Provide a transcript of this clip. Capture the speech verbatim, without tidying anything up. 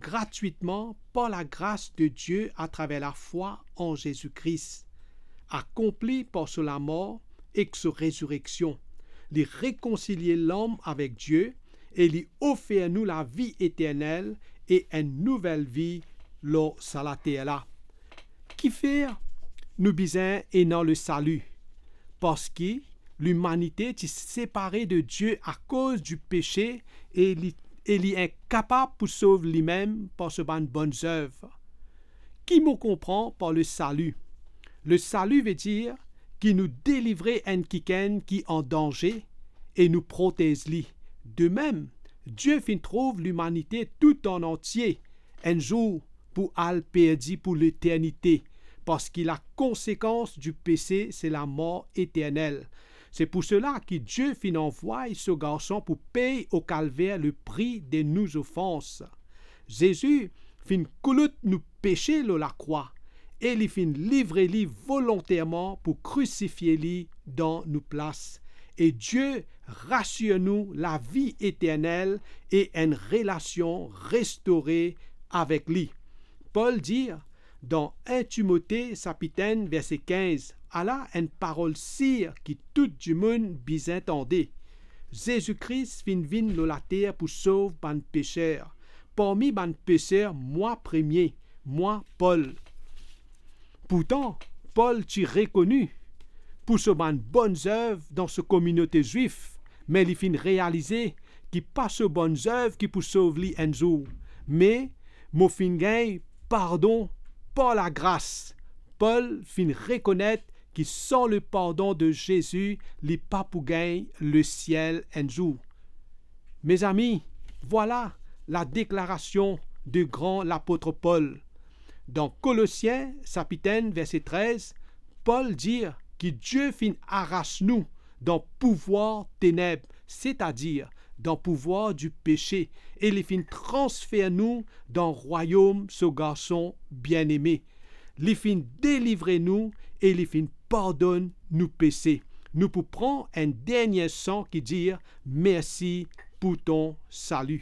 gratwitman par lagras de Die atraver lafwa an Zezi Kris, akonpli par so lamor ek so rezireksion. Li rekonsilie lom avek Die e li ofer nou lavi eternel e enn nouvel vi lor sa later la. Kifer nou bizin ena lesali? Parski limanite ti separe de Die akoz dipese e li, e li inkapab pou sov limem par so bann bonn zev. Ki mo konpran par lesali? Lesali vedir ki nou delivre enn kikenn ki an danze e nou protez li. De mem, Die finn trouv limanite tou an antie enn zour pou al perdi pou leternite, parski lakonsekans dipese se lamor eternel. Se pou sela ki Die finn anvway so Garson pou pey o Kalver lepri de nou zofans. Zezi finn koulout nou pese lor lakrwa e li finn livre li volonterman pou krisifie li dan nou plas. E Die rasir nou lavi eternel e enn relasion restore avek li. Pol dir dan enn Timote sapit enn verse kinz, ala enn parol sir ki tou dimoun bizin tande. Zezi Kris finn vinn lor later pou sov bann peser. Parmi bann peser, mwa premie, mwa Pol. Pourtan, Pol ti rekoni pou so bann bonn zev dan so kominote Zwif, me li finn realize ki pa so bonn zev ki pou sov li enn zour, me mo finn gagn pardon par lagras. Pol finn rekonet ki san lepardon de Zezi, li pa pou gagn lesiel enn zour. Mezami, vwala ladeklarasion de gran lapot Pol. Dan Kolosien sapit enn verse trez, Pol dir ki Die finn aras nou dan pouvwar teneb, setadir dan pouvwar dipese, e li finn transfer nou dan rwayom so Garson bieneme. Li finn delivre nou e li finn pardonn nou pese. Nou pou pran enn dernie san ki dir, mersi pou to sali.